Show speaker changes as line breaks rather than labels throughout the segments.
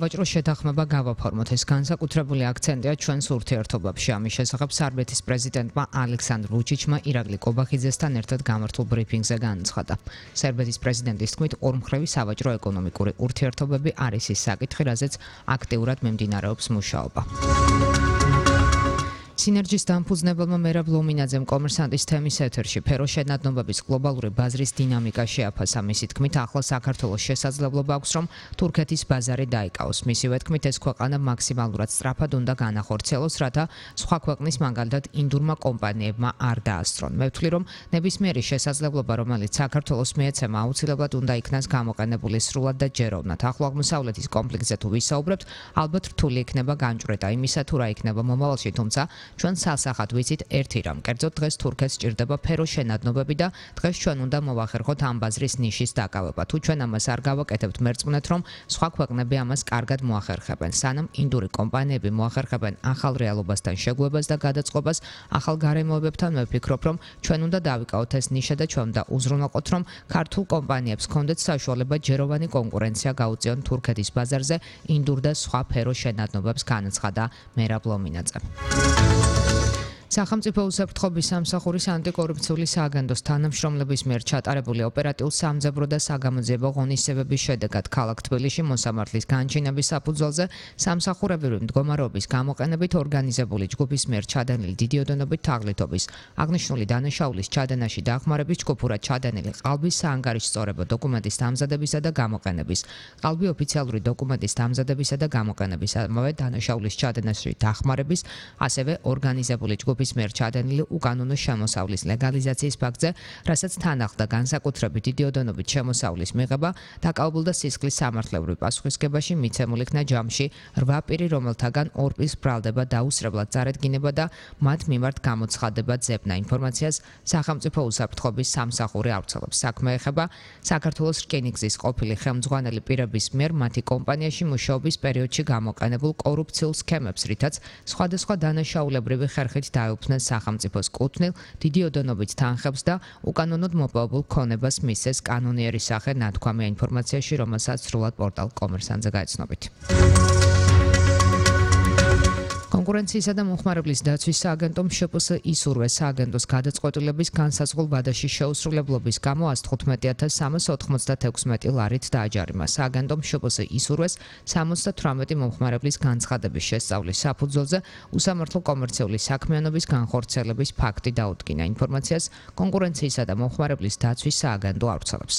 ვაჭროს შეთანხმება გავაფორმოთ. ეს განსაკუთრებული აქცენტია ჩვენს ურთიერთობებში. ამის შესახებ სერბეთის პრეზიდენტმა ალექსანდრ ვუჩიჩმა ირაკლი კობახიძესთან ერთად გამართულ ბრიფინგზე განაცხადა. სერბეთის პრეზიდენტის თქმით, ორმხრივი სავაჭრო-ეკონომიკური ურთიერთობები არის ის საკითხი, რაზეც აქტიურად მიმდინარეობს მუშაობა. სინერგიის დამფუძნებელმა მერაბ ლომინაძემ კომერსანტის თემის ეთერში ფერო შენადნობების გლობალური ბაზრის დინამიკა შეაფასა. მისი თქმით, ახლა საქართველოს შესაძლებლობა აქვს, რომ თურქეთის ბაზარი დაიკავოს. მისივე თქმით, ეს ქვეყანა მაქსიმალურად სწრაფად უნდა განახორციელოს, რათა სხვა ქვეყნის მაგალითად ინდურმა კომპანიებმა არ დაასწრონ. მე ვთვლი, რომ ნებისმიერი შესაძლებლობა, რომელიც საქართველოს მიეცემა, აუცილებლად უნდა იქნას გამოყენებული სრულად და ჯეროვნად. ახლო აღმოსავლეთის კონფლიქტზე თუ ვისაუბრებთ, ალბათ რთული იქნება განჭვრეტა იმისა, თუ რა იქნება მომავალში, თუმცა ჩვენ სასახად ვიცით ერთი რამ, კერძოდ დღეს თურქეთს სჭირდება ფერო შენადნობები და დღეს ჩვენ უნდა მოვახერხოთ ამ ბაზრის ნიშის დაკავება. თუ ჩვენ ამას არ გავაკეთებთ, მერწმუნეთ, რომ სხვა ქვეყნები ამას კარგად მოახერხებენ. სანამ ინდური კომპანიები მოახერხებენ ახალ რეალობასთან შეგუებას და გადაწყობას, ახალ გარემოებებთან, მე ვფიქრობ, რომ ჩვენ უნდა დავიკავოთ ეს ნიშა და ჩვენ უნდა უზრუნველყოთ, რომ ქართულ კომპანიებს ჰქონდეთ საშუალება ჯეროვანი კონკურენცია გაუწიონ თურქეთის ბაზარზე ინდურ და სხვა ფერო შენადნობებს, განაცხადა მერაბ ლომინაძე. სახელმწიფო უსაფრთხოების სამსახურის ანტიკორუფციული სააგენტოს თანამშრომლების მიერ ჩატარებული ოპერატიულ-სამძებრო და საგამოძიებო ღონისძიებების შედეგად ქალაქ თბილისში მოსამართლის განჩინების საფუძველზე სამსახურებრივი მდგომარეობის გამოყენებით ორგანიზებული ჯგუფის მიერ ჩადენილი დიდი ოდენობით თაღლითობის, აღნიშნული დანაშაულის ჩადენაში დახმარების ჯგუფურად ჩადენილი ყალბის საანგარიშწორებო დოკუმენტის დამზადებისა და გამოყენების, ყალბი ოფიციალური დოკუმენტის დამზადებისა და გამოყენების, ამავე დანაშაულის ჩადენაში დახმარების, ასევე ორგანიზებული ჯგუფის მიერ ჩადენილი უკანონო შემოსავლის ლეგალიზაციის ფაქტზე, რასაც თან ახლდა განსაკუთრებით დიდი ოდენობით შემოსავლის მიღება, დაკავებულ და სისხლის სამართლებრივ პასუხისგებაში მიცემულ იქნა ჯამში 8 პირი, რომელთაგან 2 პირს ბრალდება დაუსრებლად წარედგინება და მათ მიმართ გამოცხადება ძებნა. ინფორმაციას სახელმწიფო უსაფრთხოების სამსახური ავრცელებს. საქმე ეხება საქართველოს რკინიგზის ყოფილი ხელმძღვანელი პირების მიერ მათი კომპანიაში მუშაობის პერიოდში გამოყენებულ კორუფციულ სქემებს, რითაც სხვადასხვა დანაშაულებრივი ხერხით დაეუფლნენ სახელმწიფოს კუთვნილ დიდი ოდენობით თანხებს და უკანონოდ მოპოვებულ ქონებას მისცეს კანონიერი სახე, ნათქვამია ინფორმაციაში, რომელსაც სრულად პორტალ კომერსანტზე გაეცნობით. კონკურენციისა და მომხმარებლის დაცვის სააგენტომ შპს ისურვეს სააგენტოს გადაწყვეტილების განსაზღვრულ ვადაში შეუსრულებლობის გამო 115,396 ლარით დააჯარიმა. სააგენტომ შპს ისურვეს 78 მომხმარებლის განცხადების შესწავლის საფუძველზე უსამართლო კომერციული საქმიანობის განხორციელების ფაქტი დაუდგინა. ინფორმაციას კონკურენციისა და მომხმარებლის დაცვის სააგენტო ავრცელებს.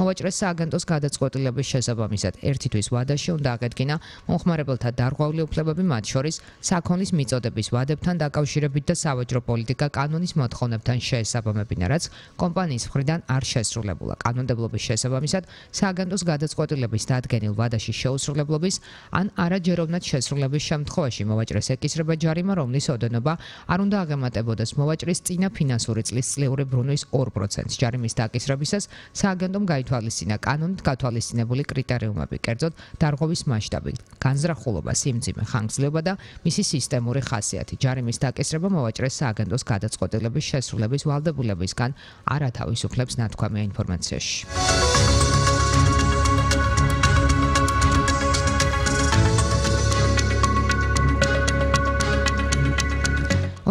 მოვაჭრეს სააგენტოს გადაწყვეტილების შესაბამისად ერთი თვის ვადაში უნდა აღედგინა მომხმარებელთა დარღვეული უფლებები, მათ შორის საქონლის მიწოდების ვადებთან დაკავშირებით და სავაჭრო პოლიტიკა კანონის მოთხოვნებთან შეესაბამებინა, რაც კომპანიის მხრიდან არ შესრულებულა. კანონმდებლობის შესაბამისად სააგენტოს გადაწყვეტილების დადგენილ ვადაში შეუსრულებლობის ან არაჯეროვნად შესრულების შემთხვევაში მოვაჭრეს ეკისრება ჯარიმა, რომლის ოდენობა არ უნდა აღემატებოდეს მოვაჭრის წინა ფინანსური წლის წლიური ბრუნვის 2%. ჯარიმის დაკისრებისას სააგენტომ გაითვალისწინა კანონით გათვალისწინებული კრიტერიუმები, კერძოდ დარღვევის მასშტაბი, განზრახულობა, სიმძიმე, ხანგრძლივობა და მისი სისტემური ხასიათი. ჯარიმის დაკისრება მოვაჭრეს სააგენტოს გადაწყვეტილების შესრულების ვალდებულებისგან არ ათავისუფლებს, ნათქვამია ინფორმაციაში.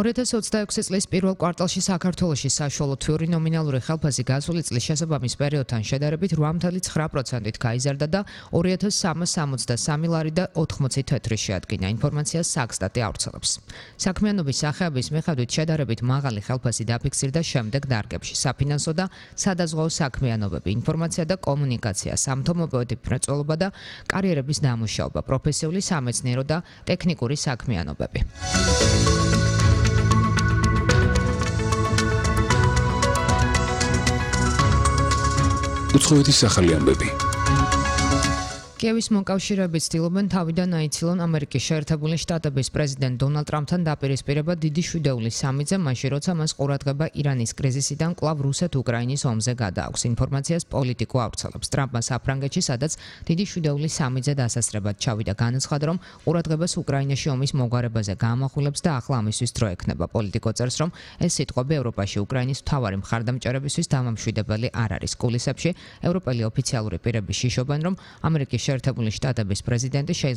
2026 წლის პირველ კვარტალში საქართველოში საშუალო თვიური ნომინალური ხელფასი გასული წლის შესაბამის პერიოდთან შედარებით 8.9%-ით გაიზარდა და 2,363 ლარი და 80 თეთრი შეადგინა. ინფორმაციას საქსტატი ავრცელებს. საქმიანობის სახეების მიხედვით შედარებით მაღალი ხელფასი დაფიქსირდა შემდეგ დარგებში: საფინანსო და სადაზღვაო საქმიანობები, ინფორმაცია და კომუნიკაცია, სამთო-მოპოვებითი მრეწველობა და კარიერების დამუშავება, პროფესიული სამეცნიერო და ტექნიკური საქმიანობები.
უცხოეთის ახალი ამბები.
კიევის მოკავშირეები ცდილობენ თავიდან აიცილონ ამერიკის შეერთებული შტატების პრეზიდენტ დონალდ ტრამპთან დაპირისპირება დიდი შვიდეულის სამიძე, მაშინ როცა მას ყურადღება ირანის კრიზისიდან კვლავ რუსეთ-უკრაინის ომზე გადააქვს. ინფორმაციას პოლიტიკო ავრცელებს. ტრამპმა საფრანგეთში, სადაც დიდი შვიდეულის სამიძე დასასრებად ჩავიდა, განაცხადა, რომ ყურადღებას უკრაინაში ომის მოგვარებაზე გაამახვილებს და ახლა ამისთვის დრო ექნება. პოლიტიკო წერს, რომ ეს სიტყვები ევროპაში უკრაინის მთავარი მხარდამჭერებისთვის დამამშვიდებელი არ არის. კულისებში ევროპელი ოფიციალური პირები შიშობენ, რომ ამერიკის შეერთებული შტატების პრეზიდენტი